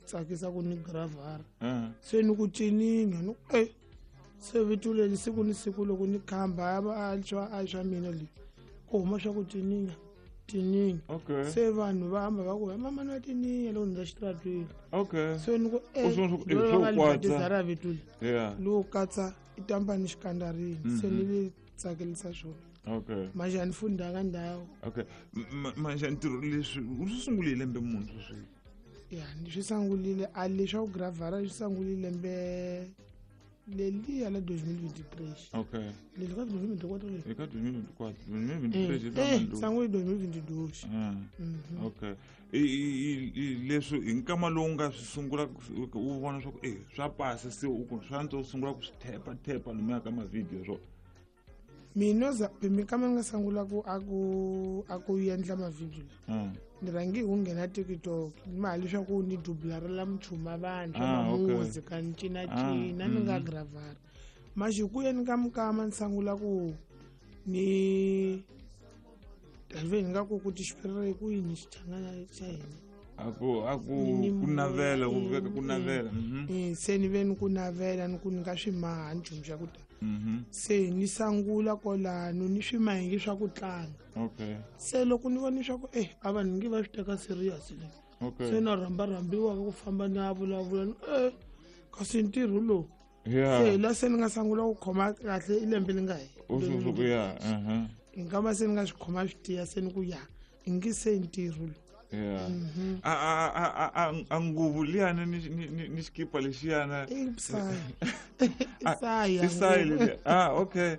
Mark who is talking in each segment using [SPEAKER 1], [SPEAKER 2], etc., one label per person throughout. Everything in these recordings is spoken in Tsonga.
[SPEAKER 1] tsakisa ku ni gravara. Se ni ku cininya ni ku e se vito leri siku ni siku loko ni khamba a swa mina le ku huma swa ku cininya tininya.
[SPEAKER 2] Okay.
[SPEAKER 1] Se vanhu va hamba va ku mama na tininya loko ni xitaratweni.
[SPEAKER 2] Okay.
[SPEAKER 1] Se ni ku
[SPEAKER 2] U swi swo kwatsa.
[SPEAKER 1] Ra vito leri.
[SPEAKER 2] Yeah.
[SPEAKER 1] Lowu katsa i tamba ni xikandarini. Se ni le tsakelisa swona.
[SPEAKER 2] Okay.
[SPEAKER 1] Manje a ni fundanga ndhawu.
[SPEAKER 2] Okay. Manje ntirho leswi u swi sungule hi lembe muni sweswi?
[SPEAKER 1] Ya, ni swi sungulile a leswa ku gravara swi sungulile lembe leliya la 2023.
[SPEAKER 2] Okay.
[SPEAKER 1] Leli ka 2024 leli.
[SPEAKER 2] Eka 2024, 2023
[SPEAKER 1] Sanguli 2022.
[SPEAKER 2] Okay. Leswi hi nkama lowu nga swi sungula u vona swa ku swa pasa se u ku swa antswa u sungula ku swi thepa thepa lomuya ka mavhidiyo swo.
[SPEAKER 1] Mina za mikama nga sangula ku a ku endla mavhidiyo la. Ni rhangi hi ku nghena TikTok mali swa ku ni dublarela mchuma vanhu music ni cina cina ni nga gravara. Manje ku yeni ka mukama ni sangula ku ni ve ni nga ku tixipirira ku yini xichangana xa hina.
[SPEAKER 2] A ku ku navela ku veka ku navela.
[SPEAKER 1] Se ni ve ni ku navela ni ku ni nga swi maha nchumu xa ku ta. Se ni sangula kwalano ni swi mahingi swa ku tlanga.
[SPEAKER 2] Okay.
[SPEAKER 1] Se loko ni vona swa ku a vanhu nge va swi teka serious le.
[SPEAKER 2] Okay.
[SPEAKER 1] Se na rhamba rhambiwa ku famba na vulavula ni kasi ntirho lowu.
[SPEAKER 2] Yeah.
[SPEAKER 1] Se la se ni nga sangula ku khoma kahle i lembe li nga hela.
[SPEAKER 2] Yeah.
[SPEAKER 1] Nkama se ni nga swi khoma swi tiya se ni ku ya ngi se ntirho lowu.
[SPEAKER 2] Yeah. A nguvu liyana ni xikipa lexiyana.
[SPEAKER 1] Isaya.
[SPEAKER 2] Leliya. Okay.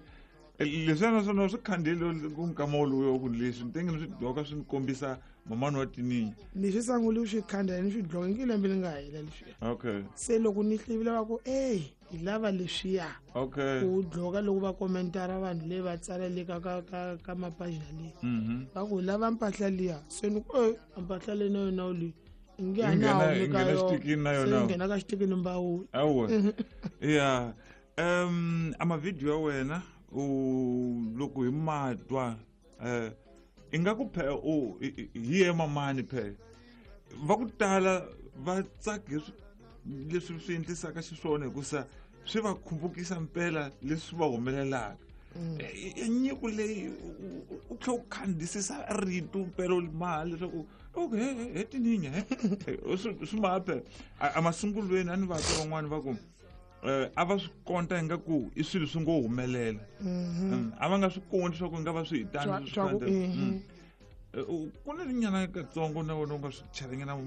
[SPEAKER 2] Leswiya naswona swi khandziyile ku nkama woluya ku leswi ni tenge ni swi dloka swi ni kombisa mamani wa tininya.
[SPEAKER 1] Ni swi sangule swi khandziya ni swi dloka ngi lembe li nga hela leswiya.
[SPEAKER 2] Okay.
[SPEAKER 1] Se loko ni hlivile va ku hi lava leswiya.
[SPEAKER 2] Okay.
[SPEAKER 1] Ku dloka loko va kommentara vanhu leyi va tsala le ka ka ka mapajina leyi. Va ku lava mpahla liya. Se ni ku mpahla leyi na yona leyi. Nge a na
[SPEAKER 2] Yi nghena xitikini na yona.
[SPEAKER 1] Se nghena ka xitikini mbawula.
[SPEAKER 2] Awa. Yeah. A mavhidiyo ya wena u loko hi matwa ingaku phe u hi ye mamani phe va ku tala va tsaki leswi swi endlisaka xiswona hikusa swi va khumbukisa mpela leswi va humelelaka. Nyiko leyi u tlhe u khandziyisisa rito mpela u maha leswaku okay he tininya swi maha phela. A masungulweni a ni vatwa van'wani va ku a va swi konta ingaku i swilo swi ngo humelela. A va nga swi konti swa ku nga va swi hi tani swi ku na nyana katsongo na wena u nga swi chelanyana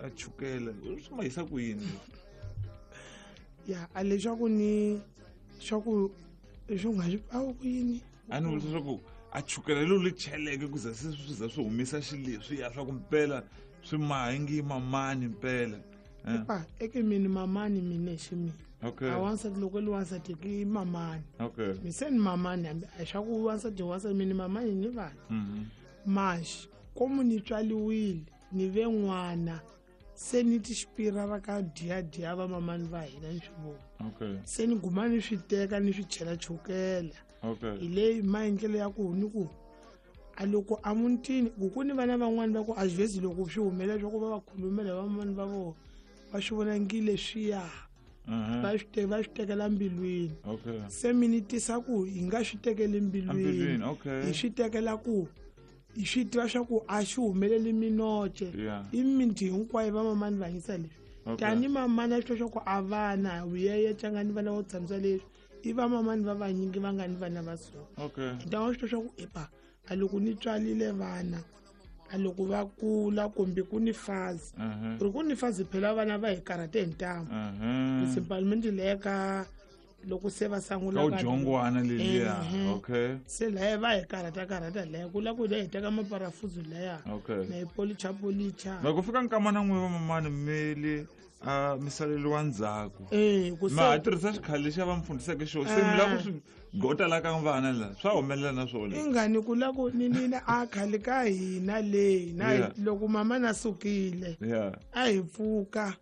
[SPEAKER 2] a chukela swi ma yisa ku yini?
[SPEAKER 1] Ya a leswaku ni swa ku leswi u nga swi a ku yini?
[SPEAKER 2] A ni vula swa ku a chukela lero li cheleke ku za se swi za swi humisa xileswiya swa ku mpela swi maha ngi mamani mpela.
[SPEAKER 1] Pa eke mini mamani mine xi mina.
[SPEAKER 2] Okay.
[SPEAKER 1] A wansati loko li wansati ki mamani.
[SPEAKER 2] Okay.
[SPEAKER 1] Mi se ni mamani hambi a swa ku wansati wansati mini mamani ni vana. Maxi komu ni tswaliwile ni ve n'wana se ni ti xipira ra ka dya dya va mamani va hina ni swi vona.
[SPEAKER 2] Okay.
[SPEAKER 1] Se ni guma ni swi teka ni swi chela chukela.
[SPEAKER 2] Okay.
[SPEAKER 1] Hi leyi maendlelo ya ku ni ku a loko a mutini ku ku ni vana van'wani va ku a xivezi loko swi humelela swa ku va va khulumela va mamani va vona va swi vona ngi leswiya. Va swi tekela mbilwini.
[SPEAKER 2] Okay.
[SPEAKER 1] Se mi ni tisa ku hi nga swi tekeli mbilwini.
[SPEAKER 2] Okay.
[SPEAKER 1] Hi swi tekela ku hi swi tiva swa ku a swi humeleli minoce. I miti hinkwayo va mamani va yisa leswi. Tani mamani a swi tiva swa ku a vana vuyeye tlangani vana vo tshamisa leswi. I va mamani va vanyingi va nga ni vana va so.
[SPEAKER 2] Okay.
[SPEAKER 1] Hi ta swi tiva swa ku epa a loko ni tswalile vana a loko va kula kumbe ku ni fazi. Ri ku ni fazi phela vana va hi karhate hi ntamu. Principalmente leyi ka loko se va sangula
[SPEAKER 2] ka jongwana leliya. Okay.
[SPEAKER 1] Se laya va hi karhata karhata laya ku la ku hi teka maparafuzu laya.
[SPEAKER 2] Okay.
[SPEAKER 1] Na hi policha policha.
[SPEAKER 2] Loko fika nkama na n'we va mamani mili a mi saleliwa ndzhaku.
[SPEAKER 1] Ku se
[SPEAKER 2] Ma tirhisa xikhale lexi va mi fundiseke xona. Se mi lava ku swi gota la ka vana la swa humelela na swona.
[SPEAKER 1] Ingani ku la ku ni ni a khale ka hina le na loko mama na sukile. A hi pfuka.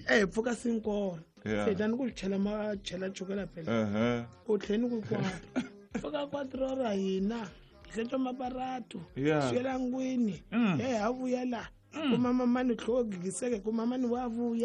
[SPEAKER 1] A hi pfuka sinkoro. Se tani ku chela ma chela chukela phela. U tlheni ku kwata. Pfuka 4 ra hina. Hlentswa maparato. Swela ngwini. Ha vuya la. Ku mama mani tlhogiseke ku mama ni wa vuya.